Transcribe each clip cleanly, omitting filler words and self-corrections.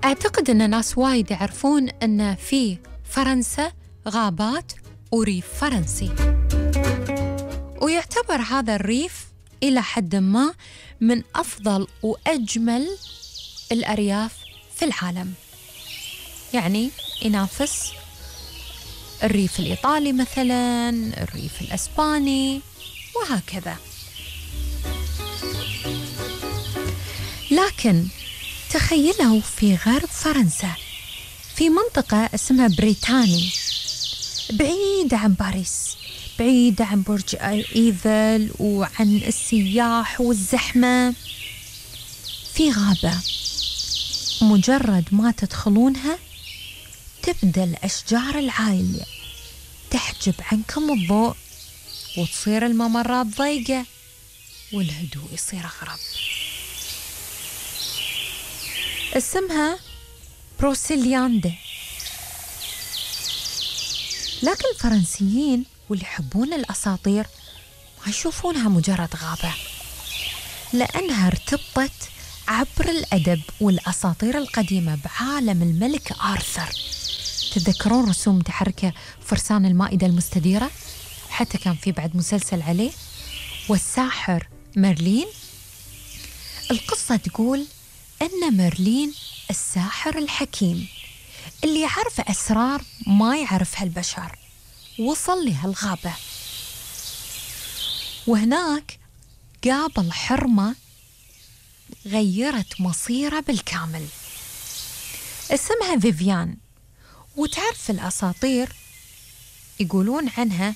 أعتقد أن ناس وايد يعرفون أن في فرنسا غابات وريف فرنسي، ويعتبر هذا الريف إلى حد ما من أفضل وأجمل الأرياف في العالم، يعني ينافس الريف الإيطالي مثلاً، الريف الأسباني وهكذا. لكن تخيلوا في غرب فرنسا في منطقة اسمها بريتاني، بعيدة عن باريس، بعيدة عن برج إيفل وعن السياح والزحمة، في غابة مجرد ما تدخلونها تبدأ الأشجار العالية تحجب عنكم الضوء وتصير الممرات ضيقة والهدوء يصير أغرب. اسمها بروسيلياندي، لكن الفرنسيين واللي يحبون الأساطير ما يشوفونها مجرد غابة، لأنها ارتبطت عبر الأدب والأساطير القديمة بعالم الملك آرثر. تذكرون رسوم متحركة فرسان المائدة المستديرة؟ حتى كان في بعد مسلسل عليه. والساحر ميرلين، القصة تقول أن ميرلين الساحر الحكيم اللي يعرف أسرار ما يعرفها البشر وصل لهالغابة، وهناك قابل حرمة غيرت مصيره بالكامل اسمها فيفيان. وتعرف الأساطير يقولون عنها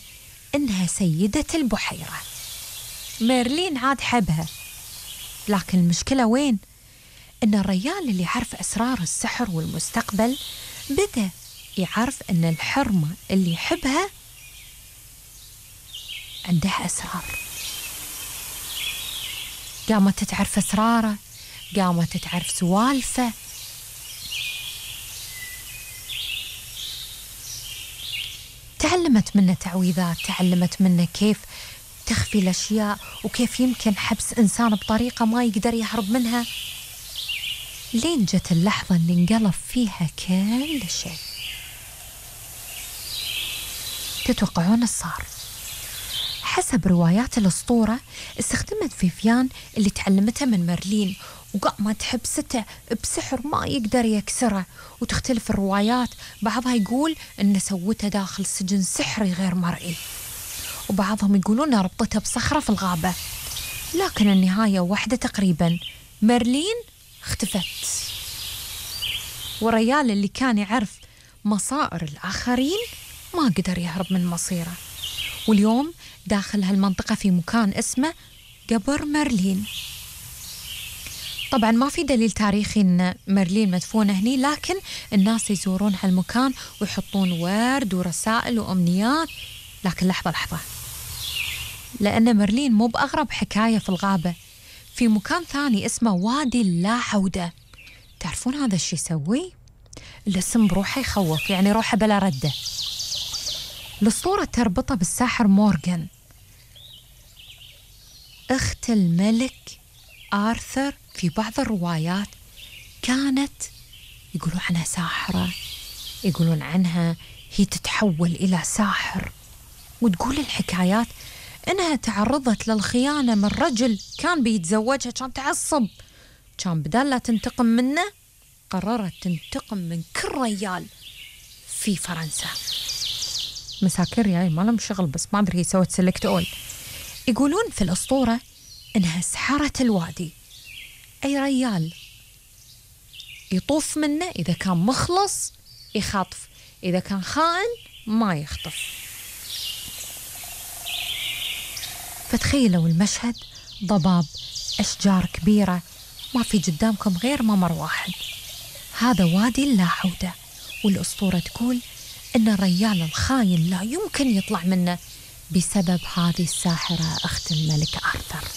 إنها سيدة البحيرة. ميرلين عاد حبها، لكن المشكلة وين؟ إن الرجال اللي يعرف أسرار السحر والمستقبل بدأ يعرف إن الحرمة اللي يحبها عندها أسرار. قامت تعرف أسراره، قامت تعرف سوالفه. تعلمت منه تعويذات، تعلمت منه كيف تخفي الأشياء وكيف يمكن حبس إنسان بطريقة ما يقدر يهرب منها، لين جت اللحظة اللي انقلب فيها كل شيء. تتوقعون الصار؟ حسب روايات الأسطورة استخدمت فيفيان اللي تعلمتها من ميرلين وقامت حبسته بسحر ما يقدر يكسره. وتختلف الروايات، بعضها يقول إن سوته داخل سجن سحري غير مرئي، وبعضهم يقولون ربطتها بصخرة في الغابة. لكن النهاية واحدة تقريبا، ميرلين اختفت، والرجال اللي كان يعرف مصائر الآخرين ما قدر يهرب من مصيره. واليوم داخل هالمنطقة في مكان اسمه قبر ميرلين. طبعا ما في دليل تاريخي ان ميرلين مدفونة هني، لكن الناس يزورون هالمكان ويحطون ورد ورسائل وأمنيات. لكن لحظة، لأن ميرلين مو بأغرب حكاية في الغابة. في مكان ثاني اسمه وادي اللا عودة. تعرفون هذا الشي يسوي؟ الاسم بروحه يخوف، يعني روحه بلا ردة. الأسطورة تربطه بالساحر مورغان، أخت الملك آرثر. في بعض الروايات كانت يقولون عنها ساحرة، يقولون عنها هي تتحول إلى ساحر. وتقول الحكايات إنها تعرضت للخيانة من رجل كان بيتزوجها، كان تعصب، كان بدال لا تنتقم منه قررت تنتقم من كل رجال في فرنسا. مساكر يعني ما لهم شغل، بس ما أدري هي سوت سلكت أول. يقولون في الأسطورة إنها سحرت الوادي، أي رجال يطوف منه إذا كان مخلص يخطف، إذا كان خائن ما يخطف. فتخيلوا المشهد، ضباب، أشجار كبيرة، ما في قدامكم غير ممر واحد. هذا وادي اللا عودة، والأسطورة تقول إن الرجال الخاين لا يمكن يطلع منه بسبب هذه الساحرة أخت الملك آرثر.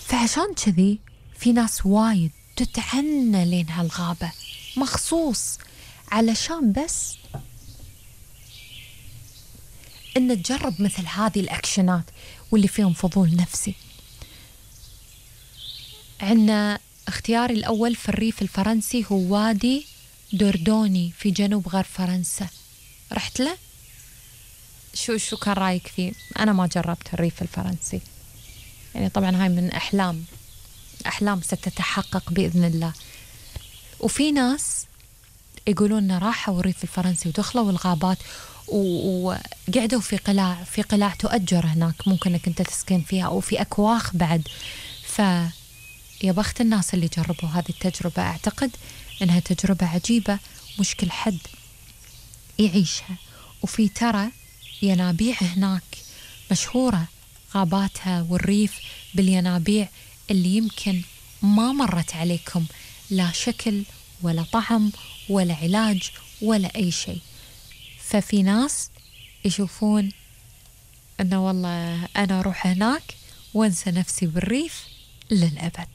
فعشان كذي في ناس وايد تتعنى لين هالغابة مخصوص علشان بس إن تجرب مثل هذه الأكشنات واللي فيهم فضول نفسي. عنا اختياري الأول في الريف الفرنسي هو وادي دوردوني في جنوب غرب فرنسا. رحت له؟ شو كان رأيك فيه؟ أنا ما جربت الريف الفرنسي، يعني طبعا هاي من أحلام ستتحقق بإذن الله. وفي ناس يقولون راحوا الريف الفرنسي ودخلوا الغابات وقعدوا في قلاع تؤجر هناك، ممكن انك انت تسكن فيها، او في اكواخ بعد. فيا بخت الناس اللي جربوا هذه التجربة. اعتقد انها تجربة عجيبة، مش كل حد يعيشها. وفي ترى ينابيع هناك مشهورة، غاباتها والريف بالينابيع اللي يمكن ما مرت عليكم لا شكل ولا طعم ولا علاج ولا أي شيء. ففي ناس يشوفون أنه والله أنا أروح هناك وأنسى نفسي بالريف للأبد.